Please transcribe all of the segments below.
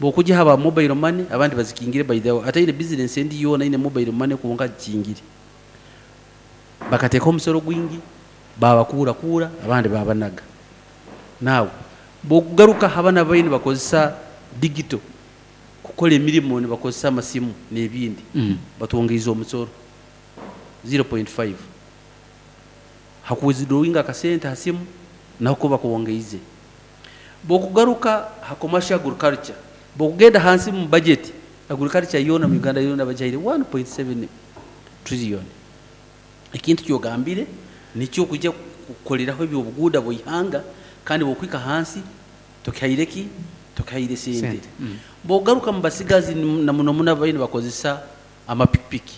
Bw'okugya aha ba mobile money abandi bazikingire by the way ataine business endi yoona aine mobile money kwonka agikingire. Bakateekaho omusoro gwingi baabakuurakuura abandi baabanaga. Now bw'okugaruka aha banu ababaire nibakozesa digital kukora emirimo nibakozesa amasimu n'ebindi batwongeize omusoro 0.5 ha ku withdrawinga akasente ha simu naho ko bakwongeize. Bwokugaruka ha commercial agriculture, bwokugenda hansi mu budget, agriculture yoona mu Uganda yoona bagihaire 1.7 trillion. Ekintu kyogambire nikyo kwija kukoreraho eby'obuguuda bw'eihanga kandi bwokuhika hansi tokihaire ki? Tokihaire sente. Bwokugaruka mu basigazi na muno muno ababaire nibakozesa amapikipiki,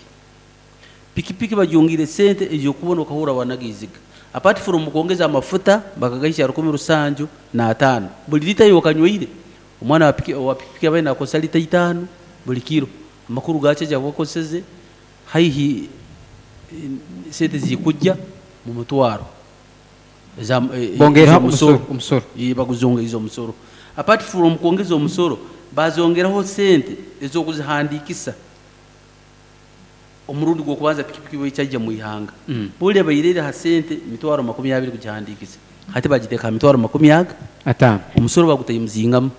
Pikipiki bagyongeire sente ez'okubona okahurra wanaga eiziga. Apart from kwongeza amafuta bakagahisya rukumi rusanju n'ataano buri lita y'okanyweire. Omwana wa piki owa pikipiki abaire nakozesa lita itaano buri kiro. Amakuru gaakyo ezi akuba akozeseze haihi sente zikujja mu mutwaro eza Bongeireho ez'omusoro. omusoro. Baguzongeize omusoro. Apart from kwongeza omusoro, bazongeraho sente ez'okuzihandiikisa. Omurundi gw'okubanza pikipiki bwekyaija mu ihanga, buri ebaire eri aha sente mitwaro 20 kugihandiikisa, hati bagiteeka aha mitwaro makumi aga. Ataano. Omusoro bagutaimuzingamu.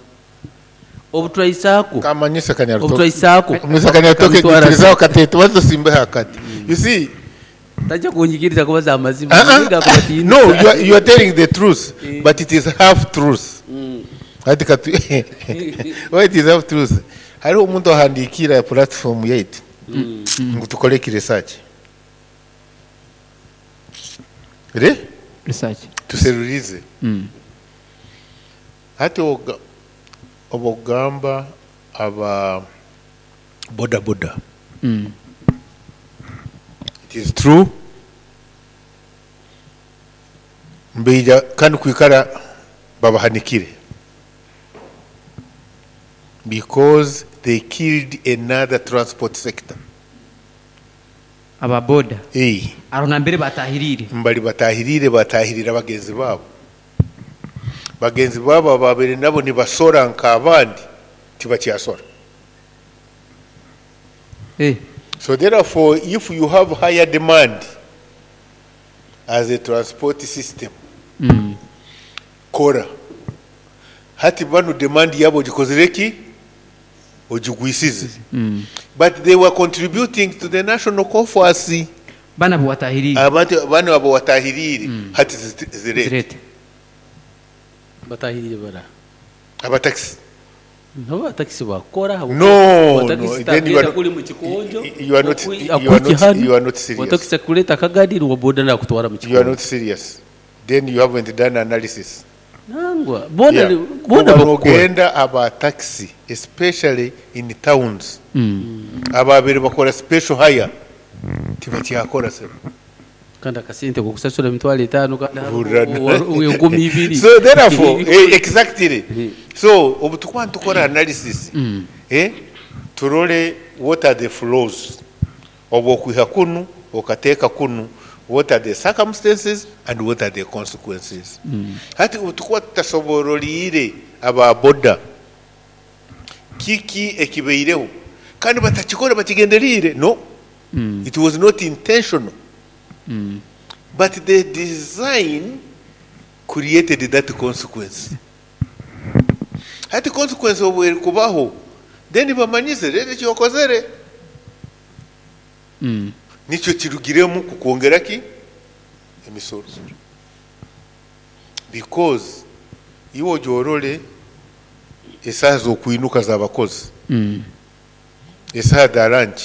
Obu turahisaako, Kamanyise obu Kanyarutoke. turahisaako, Mr. Kanyarutoke kamitwaro nyikirizaho ashatu. kati tubanze tusimbeho akati. You see, Tajya kunyikiriza kubaza amazima, uh-uh. niga kubatiinisa. No, you are telling the truth, but it is half truth. Hati katu why it is half truth. Hariho omuntu ahandiikira platform yaitu ngu tukore ki research. Re? Research. Tuserurize. Hati oga obogamba aba boda boda. It is true. Mbaija kandi kwikara babahanikire because they killed another transport sector. Aba boda. Ei. Aho nambere batahiriire. Mbari batahiriire batahirira bagenzi baabo. Bagenzi baabo ababaire nabo nibasora nk'abandi tibakyasora. Eh. So therefore if you have higher demand as a transport system, kora. Hati banu demand yabo ogikozire ki? Ogigwisize. But they were contributing to the national coffers. Banu abu watahiriire. Abantu banu abo watahiriire hati zirete. Zirete. Batahiriire bara. Aba taxi. Nabo ba taxi bakora No, wa no, taxi then you tagenda are not, kuri mu kikonjo. you are not, you are not, you are not serious. Wa taxi akuleta akagari wa boda nakutwara mu You are kikonjo. not serious. Then you haven't done analysis. Nangwa bona Yeah. bona Kuba bakora. nogenda aba taxi especially in towns ababiri bakora special hire tibakyakora sebo. Kandi akasente kokusasura emitwaro etaano kandi Hurra. 2000. So therefore, exactly. So obu tukuba nitukora analysis, turore what are the flows obu okwiha kunu okateeka kunu, what are the circumstances and what are the consequences. Hati obu tukuba tutasobororiire aba boda kiki ekibaireho kandi batakikora bakigenderiire, no, it was not intentional, but the design created that consequence. Hati consequence obu erikubaho, then bamanyize rero ekyokozere nikyo kirugiremu kukwongera ki emisoro, because iwe ogyorore esaaha z'okwinuka z'abakozi, esaaha za lunch,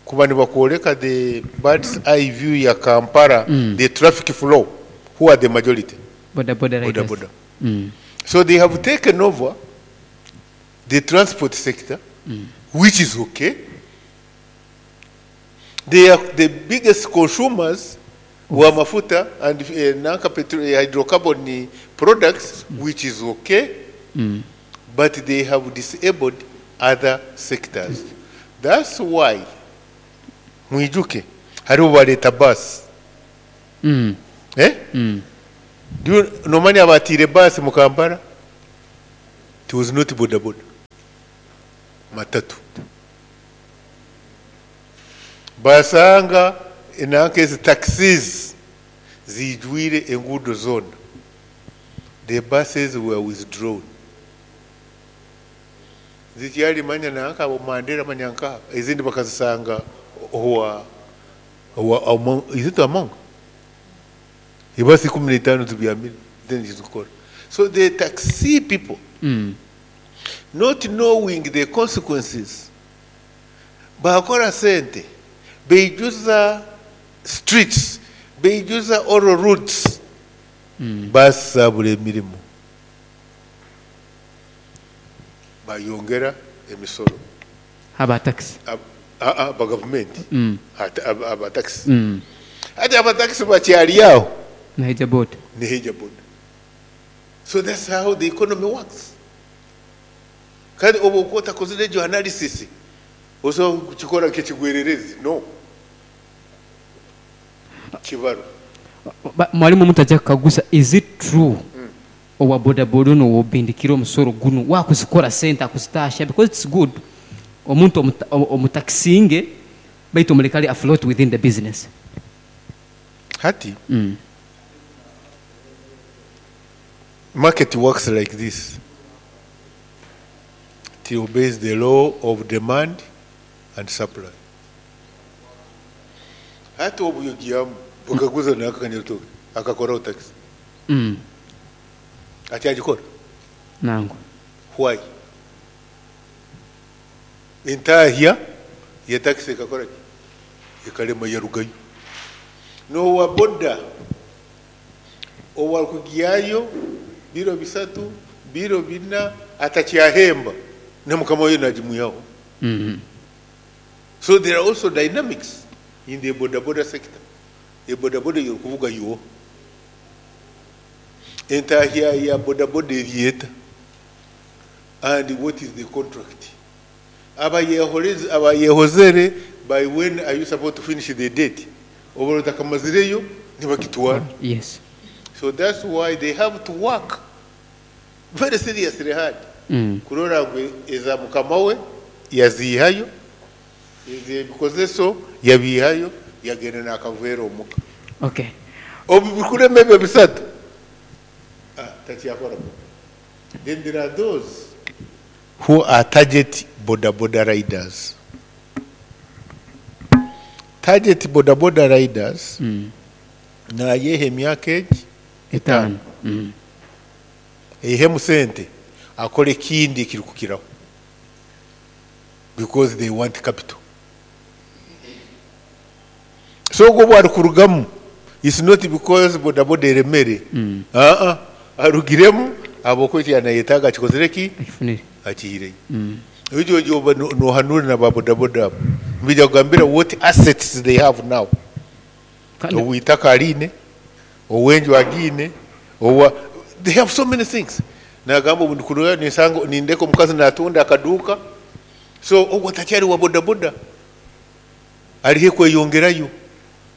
kuba nibakworeka the bird's eye view ya Kampala, the traffic flow, who are the majority? Boda boda Boda riders. boda. So they have taken over the transport sector, which is okay. They are the biggest consumers wa mafuta and nanka petro, hydrocarbon products, which is okay, but they have disabled other sectors. That's why mwijuke hariho bareta bus. Eh? Do you nomanya abatire bus mu Kampala? It was not boda boda. matatu. Basanga enanka ezi taxis ziijwire enguudo zoona. The buses were withdrawn. Zikyali manya nanka abo Mandera manya nkaha ezindi bakazisanga owa owa Among, is it Among? Ebasi 15 zibyamire then zikora. So the taxi people not knowing the consequences bakora sente beijuza streets beijuza all routes basabura emirimo bayongera emisoro aba taxi aba gavumenti aba taxi hati aba taxi bakyali aho naija boda neheja boda. So that's how the economy works. Kandi obu okuba otakozire egyo analysis osobola kukikora nk'ekigwererezi no kibaro. Mwalimu omuntu ajja kukaguza is it true owa boda boda onu owobindikire omusoro gunu wakuzikora sente akuzitashya because it's good omuntu omutakisinge baitu omuleke ali afloat within the business. Hati market works like this. It obeys the law of demand and supply. Hati obuyogiyamu bukaguza nakakanyatoke akakoraho taxi. Ati agikora? Nangwa. Why? Entahya ya taxi ekakora ki? Ekalema yarugayo. N'owa boda owakugiyayo biro 3 biro 4 atakyahemba na mukama we najimwihaho. So there are also dynamics in the boda boda sector. The boda boda yokuvuga yo entahya ya boda boda eriyeta. And what is the contract? Abayehozere by when are you supposed to finish the date? Oba otakamazireyo nibakitwara. Yes. So that's why they have to work very seriously hard. Kurora ngu eza mukama we yazihayo, ez'ebikozeso yabihayo, yagenda n'akaveera omuka. Okay. Obu bikurema ebyo 3. Takyakora. Then there are those who are target boda boda riders. Target boda boda riders nayeha emyaka egi 5. Eihemu sente akore ekindi ekirikukiraho because they want capital. So ogwo obu arikurugamu it's not because boda boda eremere. Arugiremu ahabw'okuba eki yanayetaaga akikozire ki? Akifunire. Akihireyo. Ekyo oba nohanura na ba boda boda abo. Nibija kugambira what assets they have now. Ow'itaka ariine, ow'enju agiine, owa they have so many things. Nagamba obu ndikurora ninsanga nindeka omukazi natunda akaduuka. So ogwo takyari wa boda boda. Ariho kweyongerayo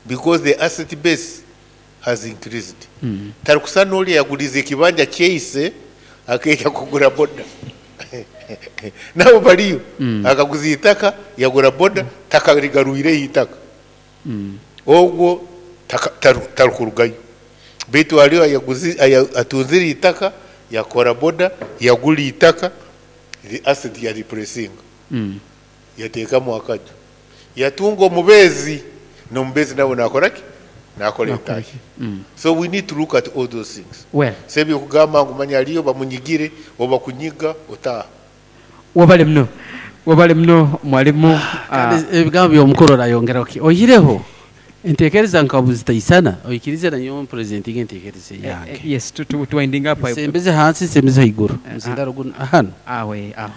because the asset base has increased. Tarikusa n'ori yagurize ekibanja kyeise akeija kugura boda. Nabo bariyo. Akaguza itaka yagura boda takarigarwireyo itaka. Ogwo tarukurugayo. Baitu hariho atunzire itaka yakora boda yagura itaka the asset ya repressing. Yateekamu akaju. Yatunga omubeezi n'omubeezi nawe nakora ki? Nakora entahya. So we need to look at all those things. Well. Sebyo kugamba ngu manya aliyo bamunyigire oba kunyiga otaha. Wabale mno. Wabale mno mwalimu. Kandi ebigambo by'omukuru orayongeraho ki? Oihireho enteekereza nka buzitaisana oikirize na nyowe presenting enteekereza yange. Yes, to winding up. Nsembeze hansi nsembeze haiguru. Muzindaro guno hano. Awe, awe.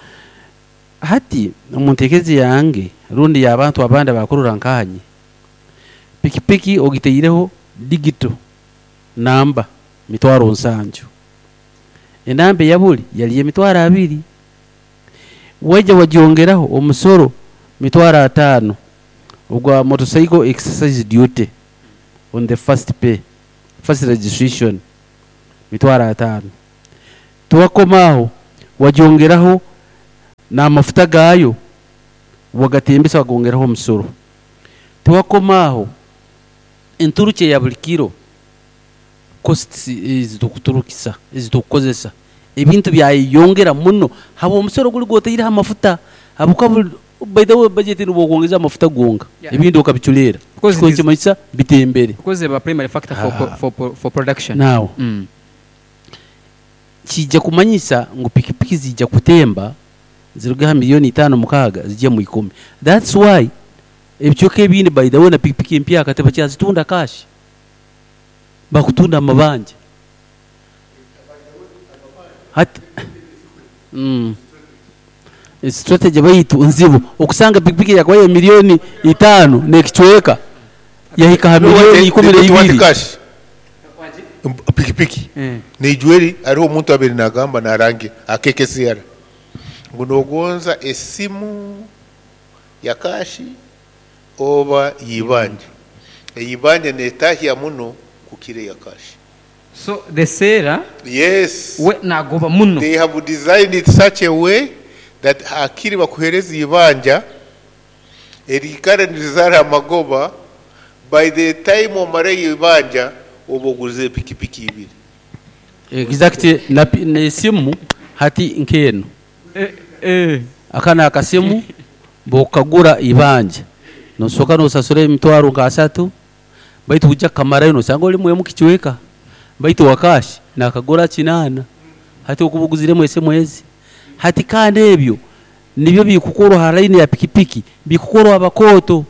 Hati omu nteekereza yange rundi y'abantu abandi abakurora nkanye. Pikipiki ogiteireho digital namba 7,000. Enamba eyabuli yali 20,000. Waija wagyongeraho omusoro 5,000 ogwa motorcycle exercise duty on the first pay, first registration 5,000. Tuwakomaaho wagyongeraho N'amafuta gaayo wagatembesa wagongeraho omusoro. Tiwakoma aho, enturukya eya buri kiro, costs ezi turikuturukisa, ezi turikukozesa, ebintu byayeyongera muno habw'omusoro guri ogu otaire aha mafuta ahabw'okuba buri, by the way budget nobu okwongyeza amafuta gonka, ebindi okabicureera, Because it kikaba is nikimanyisa bitembere. because eba primary factor for for production. Now, Kiija kumanyisa ngu pikipiki ziija kutemba ziruge aha milioni itaano mukaaga zigye mu ikumi. That's why ebicweka ebindi by the way na pikipiki empyaka tibakyazitunda cash, bakutunda amabanja. Hati strategy baitu nzibu okusanga pikipiki eyakubaire milioni itaano n'ekicweka yahika aha milioni ikumi na ibiri. Pikipiki neijwa eri hariho omuntu abaire nagamba narangira aha KKCR ngu nogonza esimu ya kashi oba y'eibanja. Ey'eibanja netahya muno kukira eya kashi. So the seller Yes. we nagoba muno. They have designed it such a way that hakiri bakuhereza eibanja eriikara nirizaara amagoba, by the time omarayo eibanja oba oguzire pikipiki ibiri. Exactly na n'esimu hati nk'enu. Aka n'akasimu bw'okukagura eibanja noosooka noosasura emitwaro nk'asatu baitu oija kukamarayo noosanga orimu emu kicweka baitu owa kaashi naakagura kinaana. Hati okuba oguziremu esimu ezi. Hati kandi ebyo Nibyo birikukorwa aha layini ya pikipiki birikukorwa abakooto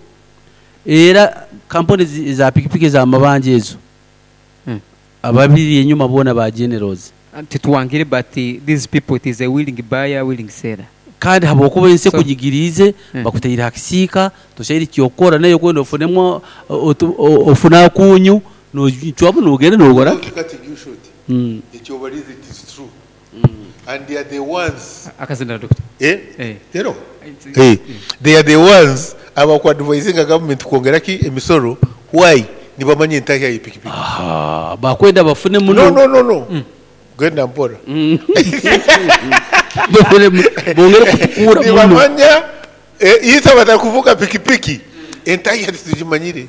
era kampuni eza pikipiki eza mabanja ezo ababiri enyuma boona ba generals. Tituwangire but these people it is a willing buyer willing seller. Kandi habwokuba ensi ekunyigiriize bakutaire aha kisiika toshaire eky'okukora nayo okwenda ofunemu ofune akunyu nocwamu nogenda nokora ki? And they are the ones Akazindaro doctor. Eh? Eh. Tero? Eh. They are the ones abakuadvisinga government kwongera ki emisoro why nibamanya entahya ye pikipiki. Ahaa bakwenda bafune muno. No no no no. Genda mpora. Bafune muno bongere kutukuura muno. Nibamanya eh, itwe abatarikuvuga pikipiki entahya titugimanyire.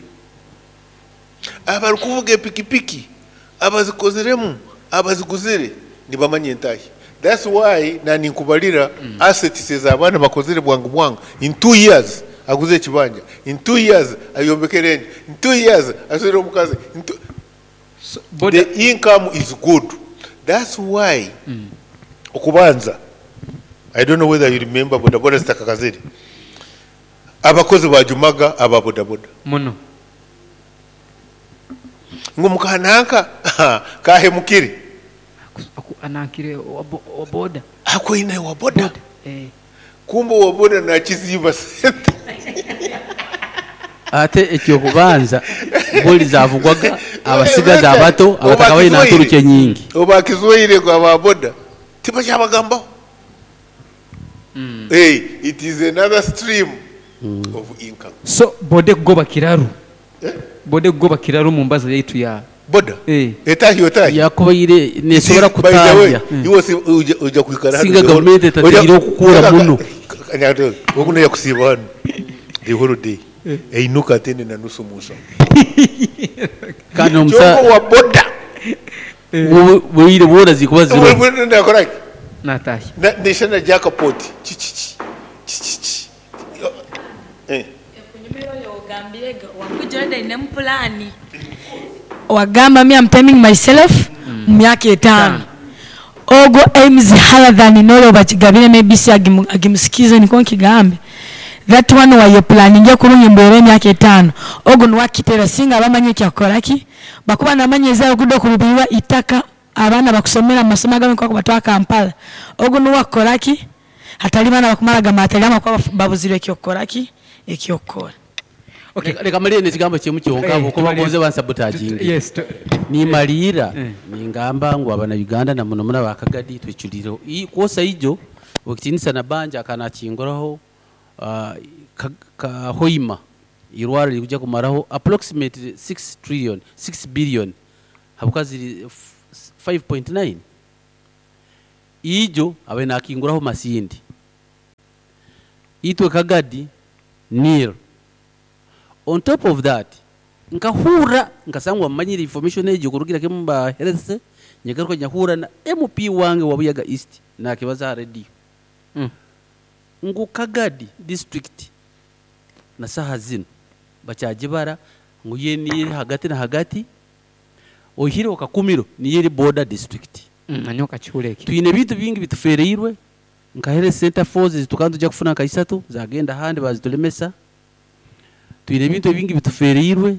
Abarikuvuga epikipiki, abazikoziremu, abaziguzire nibamanya entahya. That's why naninkubarira assets ezi abaana bakozire bwangu bwangu in 2 years aguze ekibanja, in 2 years ayombekere enju, in 2 years aswire omukazi, in two the income is good. That's why okubanza I don't know whether you remember bodaboda zitakakazire, abakozi baajumaga aba bodaboda. Muno. Ngu muka nanka kaahemukire. Aku anankire owa boda. Akwaine owa boda. Kumbe owa boda naakiziiba sente. Ate eky'okubanza buri zaavugwaga abasigazi abato abatakabaire na nturukye nyingi. Obu baakizwaire ngu aba boda tibakyabagambaho. It is another stream of income. So boda ekugoba kiraru. Boda ekugoba kiraru omu mbaza yaitu ya. Boda? Eh. Etahya otahya? Yakubaire nesobora By the way, kutahya iwe osi oija oija kwikara hanu singa the whole gavumenti oija etateire okukura muno. Ogu noija kusiiba hanu the whole day einuka ate ende na nusu omu nshaho. Kandi Kyonka n'omusa owa boda bwire bwona zikuba ziroho. Nakora ki? Natahya. Na neshana jackpot kikiki kikiki eh. Ekunyumira oyo ogambire ge wakwigira already ainemu pulaani. Wagamba me am timing myself mu myaka etaano. Ogwo aims higher than n'ori obakigabire maybe si agimusikiize nikwo nkigambe. That one wayepulaninga kurungi mbu ero emyaka etaano. Ogu niwe akiteera singa aba amanyire ekyakukora ki? Bakuba namanya ezaabo okuda okurubirirwa itaka abaana bakusomera mu masomo agamwe nkoku bakubatwara Kampala. Ogu niwe akukora ki? Hatari baana bakumara gamaatari ahabw'okuba babuzirwe eky'okukora ki? Eky'okukora. Okay. Leka malire n'ekigambo kimwe kyonka Eh, ahabw'okuba tumalire. gonze bansabotaginge. Yes. Nimaliira Eh. ningamba ngu abana Uganda na muno muno aba Kagadi twecurireho. Kwosa ijo Owekitinisa Nabanja akaba nakinguraho ka Hoima eirwariro ririkuija kumaraho approximately 6 trillion, 6 billion ahabw'okuba ziri 5.9. Ijo abaire nakinguraho Masindi. Itwe Kagadi nil. On top of that, nkahurra nkasangwa mmanyire information egyo kurugira kimwe omu ba health, nyagaruka nyahurra na MP wange wa Buyaga East nakibaza aha radio ngu Kagadi district na saaha zinu bakyagibara ngu yo niyo eri hagati na hagati oihireho Kakumiro niyo eri border district. Nanyowe nkakihurra ekyo. Twine ebintu bingi bitufeereirwe nka health center fours ezi tukaba nitwija kufuna nka isatu zagenda ahandi bazitulemesa. Twine ebintu ebingi bitufeereirwe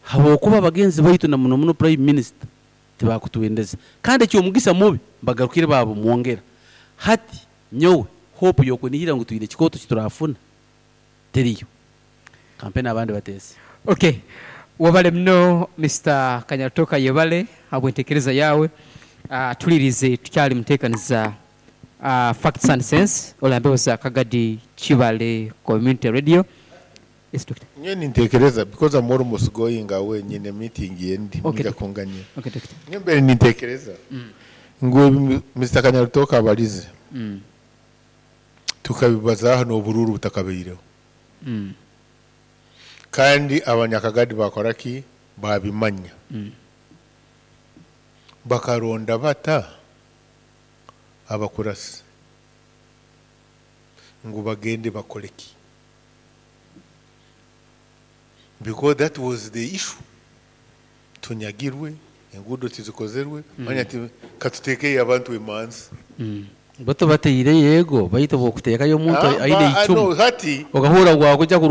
habwokuba bagenzi baitu na muno muno Prime Minister tibakutwendeza. Kandi eky'omugisa mubi bagarukire babumwongera. Hati nyowe hope y'okunihira ngu twine ekikooto ekiturafuna teriyo. Kampe n'abandi bateese. Ok, webale muno Mister Kanyarutooka yebale habw'entekereza yaawe. Tuliirize tukyali muteekaniza Facts and Sense ori aha mbeho za Kagadi Kibale Community Radio. Yes Doctor. Nyowe nintekereza because I'm almost going away nyine meeting endi Okay, mwija doctor. kunganyira. Okay, doctor. Nyowe mbaire nintekereza ngu ebi Mister Kanyarutooka abarize tukabibazaho n'oburuuru butakabaireho. Kandi abanyakagadi bakora ki? Babimanya. Bakaronda bata abakurasi ngu bagende bakore ki? Because that was the issue. Tunyagirwe, enguudo tizikozerwe, manya ati katuteekeyo abantu emanzi. Bo tubataire yego baitu bw'okuteekayo omuntu aine Ah, eicumu no, hati okahurra ngu wakuja kurwana.